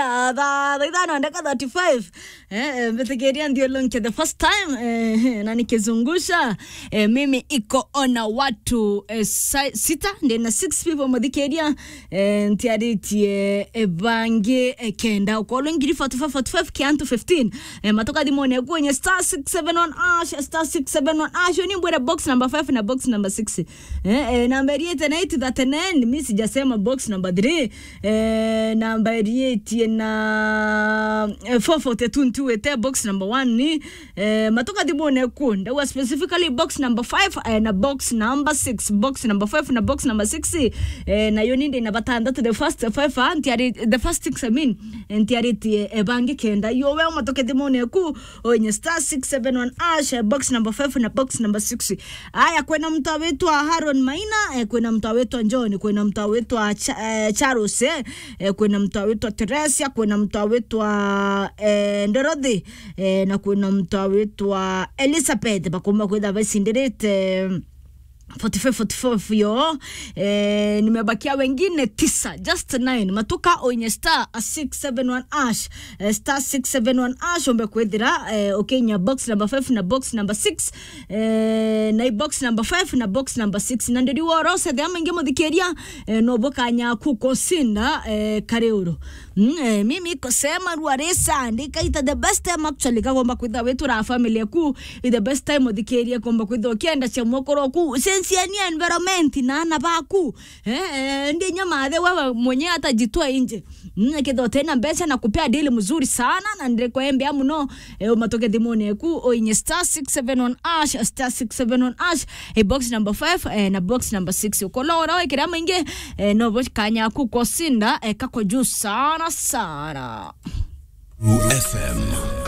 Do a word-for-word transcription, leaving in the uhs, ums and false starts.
Ah, thaa, thaa ithano ndagika thirty-five. Eh, eh, mbitikiria nthiurunke the first time, eh, na nikizungusha, eh, mimi iko ona watu, eh, sa-, sita, ndina six people muthikiria, eh, ntiaritie, eh, bangi, eh, kenda. Ukorwo ngiri forty-five, forty-five kiantu fifteen. Eh, matuka thimone kwenye star six seven one hash, star six seven one hash. Ni mbwire box number five na box number six. Eh, eh, namba iriite na eight thirty-nine, mi sijasema box number three. Eh, namba iriitie na, eh, four forty-two ntiwite box number one ni, eh, matuka thimone ku. Ndauga specifically box number five, eh, na box number six. Box number five na box number six, eh, nayo ni ndina batandatu, the first five, ah, ntiari-, the first six, I mean, eh, ntiaritie, eh, bangi kenda. Yo we matuka thimone ku, onye star six seven one hash, eh, box number five na box number six. Aya, kwina mtu awitwa Haron Maina, eh, kwina mtu awitwa John, kwina mtu awitwa Cha-, eh, Charles, eh, eh, kwina mtu awitwa Teresia, kwina mtu awitwa, eh, Dorothy, eh, na kwina mtu awitwa Elizabeth, bakumba kwitha bacindirite forty-five, forty-five yo. Eh, nimebakia wengine tisa, just nine. Matuka onye star six seven one hash, eh, star six seven one hash, ombe kwithira, eh, ukinya box number five na box number six, eh, na i box number five na box number six. Na ndiri worose the maingi muthikiria, eh, no bukanya kukosinda, eh, kariuru. Mm, eh, mimi kusema ruarisa, ndikaita the best time actually, kagomba kwitha witura family yaku, i the best time uthikirie, komba kwitha ukienda cia mwokoro ku, sense ya ni environment na ana baku. Eh, eh, ndi nyamathe wewe mwenye hata jitoa nje. Mm, kethira utena mbeca na kupea deal mzuri sana, na ndirikwembea muno, eh, umatuke thimone ku, oinye star six seven one hash, star six seven one hash, eh, box number five, eh, na box number six. Ukola ora wekira maingi, eh, no bo kanya ku kosinda, eh, kako juu sana sana. F M.